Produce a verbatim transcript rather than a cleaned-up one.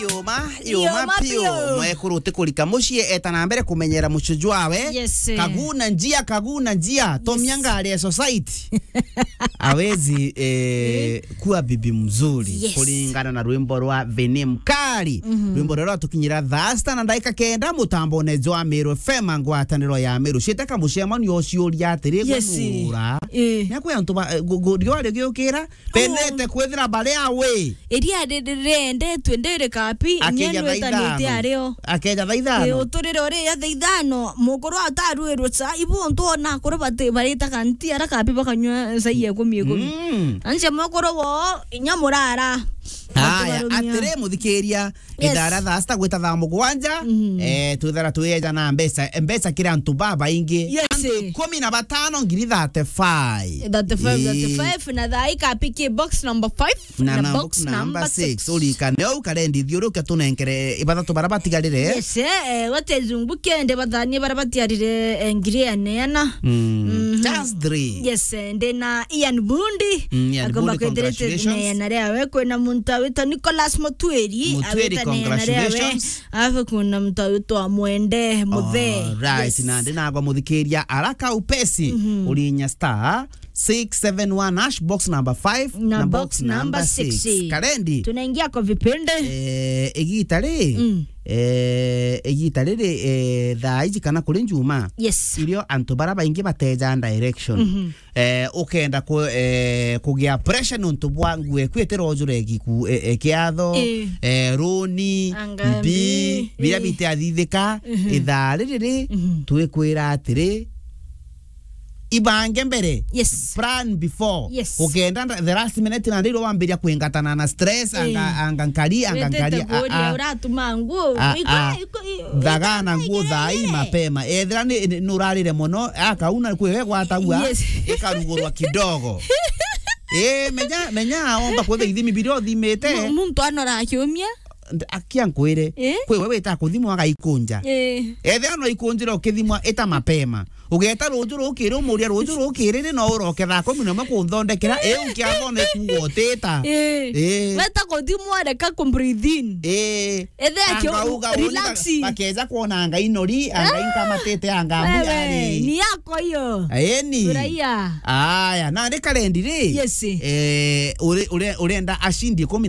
Yoma, yoma, yoma piu, piu. Mwekuru utikurika mucii, eta na mbere kumenyera mucujwawe. Yes, eh. Kaguna njia, kaguna njia. Tomia, yes, ngari ya society. Hawezi, eh, eh, kuwa bibi mzuri. Yes. Kuringana na rwimbo rwa Vinny Mkali. Mhm. Rwimbo ruria rwatukinyira thaa sita na ndaika kenda mutambone jwa Meru F M, ngwataniro ya Meru. Ciiteka mucemanio uciuria atiri, yes, gwe nuura. Eh. Nakwi antu ba, eh, gu-, gu-, riua rigiukira, pendete kwithira bari awe. Iria ri-, ri-, riendetwe ndiri kapi, akeja nyie thaa ithano. Ario. Akeja thaa ithano. Eh, uturire uri ya thaa ithano, mukuru atarwirwe cha, ibu untu ona akuru bati-, baritaga nti ara kapi bakanywa chai ya ikumi ikumi. Mm. Anche mukuru wo, inya murara. Aya, atubarumia. Atiri, muthikiria, yes, ithara thaa sita gwita thaa mugwanja, mhm, eh, twithara twieja na mbeca, mbeca kiri antu babaingi. Yes. Antu ikumi na batano, ngiri thirty-five. Thirty-five, ii, thirty-five, na thaa ikapi ki box number five, na, na box number six. Uririkane uu karendi thiurukia tunenkere ibathatu bara batigarire. Yes, eh, eh, wate zungu kende bathanie bara batiarire, eh, ngiri ya neana. Mm. Mhm. Just three. Yes, eh, ndina Ian Bundi. Mm, Ian Bundi, congratulations. Akomba kwithirite neana riawe. Kwina muntu awitwa Nicholas Mutwiri. Mutwiri, awite neana riawe. Congratulations. Afu kuna muntu awitwa Mwende Muthe. Alright, yes. Na ndinagwa muthikiria araka upesi, mhm, urinya star six seven one hash, box number five na box number six. Karendi. Tunaingia kwa vipindi. Eh, igita ri, mm, eh, igita riri, eh, thaa iji kana kuri njuma. Yes. Irio antu bara baingi bateja direction. Mhm. Eh, ukenda ku-, eh, kugia pressure nontu bwa nguo eku itira ujure giku, eh, eh, kiatho, eh, eh, runi, anga mbi, mbi, biria, eh, bitiathithika, mhm, ithaa riri ri, mhm, twikwira atiri, ibange mbere. Yes. Plan before. Yes. Ukenda nda-, the last minute na ndiro wambiria kwingatana na stress, anga, eh, anga nkari, anga nkari, wetete a, kuria a. Uratuma nguo. A, iko, a. Iko, i-, thagana nguo thaa ii mapema. Ethira ni, ni, nurarire mono, akauna kwi we gwatagua, yes, ikarugurwa kidogo. Eh, menya, menya aomba kwetha ithimi biria uthimite. Mu-, muntu anora akiumia. Akia nkwire, eh? Kwi we wita kuthimwa agaikunja. Eh. Ethira no ikunjira ukithimwa ita mapema. Ugeta ruju rukiri, umuria ruju rukiri, ri no uroke thaa kumi na imwe kunthondekera, iu nkiathone kuuga utita. Eh. Eh. Weta kuthimwa, reka ku breathe in. Eh. Ethe akio-, anga uga uni relax. Ba-, bakeja kwona anga inori, anga, ah, inkamatite, anga mbu. Wewe, yari ni yako hiyo. Eni. Furahia. Aya, na ni karendi ri? Yes. Eh, uri-, uri-, urenda ashindi ikumi na